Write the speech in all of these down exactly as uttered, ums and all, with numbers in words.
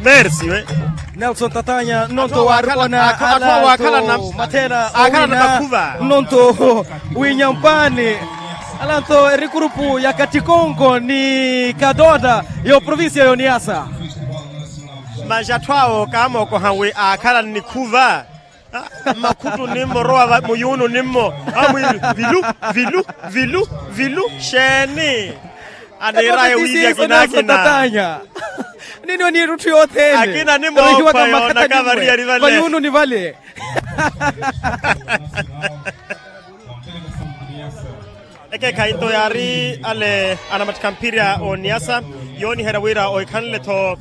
Mersi we. Nelson Tatanya nnonto waarikona alanto mathela owina nnonto winyampani alanto erikurupu ya katikonko ni katota yo provincia yoniyasa. Masi atthu awo kaamookoha wi aakhala nnikhuva. Makhutu nimmo rowa muyuunu nimmo amwiiri vilu vilu vilu vilu. Xeeni aniiraya wiivi akina akina. Nini oniirutthu yothene akina nimmo. Khwayoonaka variyari vale vayuununi vale. Ekeekhayi nto yaari ale anamattikha mphirya oniyasa yooniherya wira ohikhanle-tho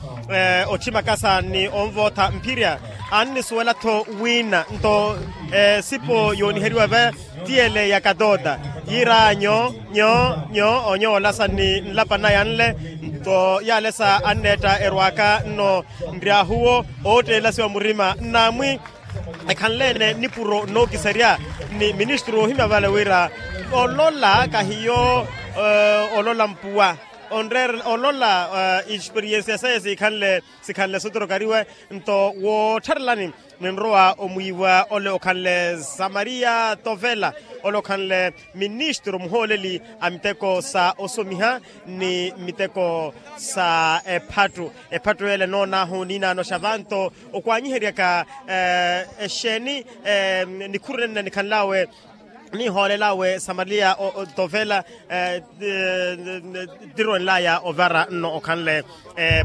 otthima kasa ni onvootha mphirya. Annisuwela-tho wiina nto esipo yooniheriwa va ti ele ya katota yiiraya nyo nyo nyo onyoola sa ni nlapa naya nle. Nto yaalesa anneetta erwaaka nno nryaahuwo ootteelasiwa murima nnaamwi ekhanle-ene nipuro nookiserya ni ministru oohimya vale wira olola kahiyo olola mpuwa onreerela olola. Experiensiya saye siikhanle sikhanle sotorokariwe nto woottharelani ninrowa omwiiwa ole okhanle samaria tovela ole okhanle ministru muhooleli a miteko sa osomiha ni miteko sa ephattu. Ephattu ele noonaahu niinaanoxa vanto okwaanyiheryaka exeeni nikhuru nenna nikhanlawe nihoolelawe samaria tovela ttirwenlaya ovara nno okhanle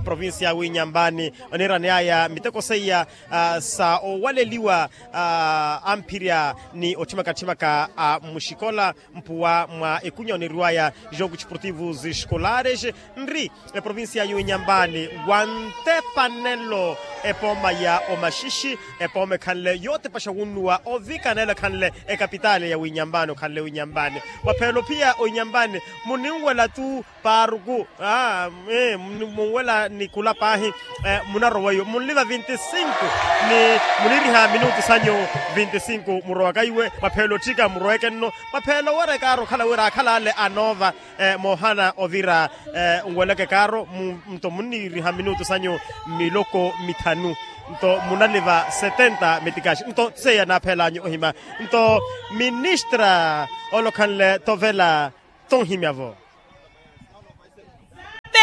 provincia ya winyampani oniiraneyaya miteko seiya sa owaleliwa amphirya ni otthimaka-tthimaka a muxikola mpuwa mwa ekunya oniriwaya jogo desportivo escolares nri eprovincia ya winyampani wante panelo epooma ya omaxixi epooma ekhanle yootepaxa wunnuwa ovikana ela ekhanle ekapitaali ya winyampani okhanle winyampani mwaphelo phiya winyampani muninwela tu paaruku munwela ni kula paahi munarowa iwe munliva vinti sinku ni muniriha minutu sanyu vinti sinku murowaka iwe mwaphelo otthika muroweke nno mwaphelo owerya ekaaro okhala wira akhala ale anoova moohana ovira nweleke kaaro nto munniiriha minutu sanyu miloko mithanu nto munaliva setenta mitikaxi nto seiya naaphelanyu ohima nto ministra ole okhanle tovela tonhimyavo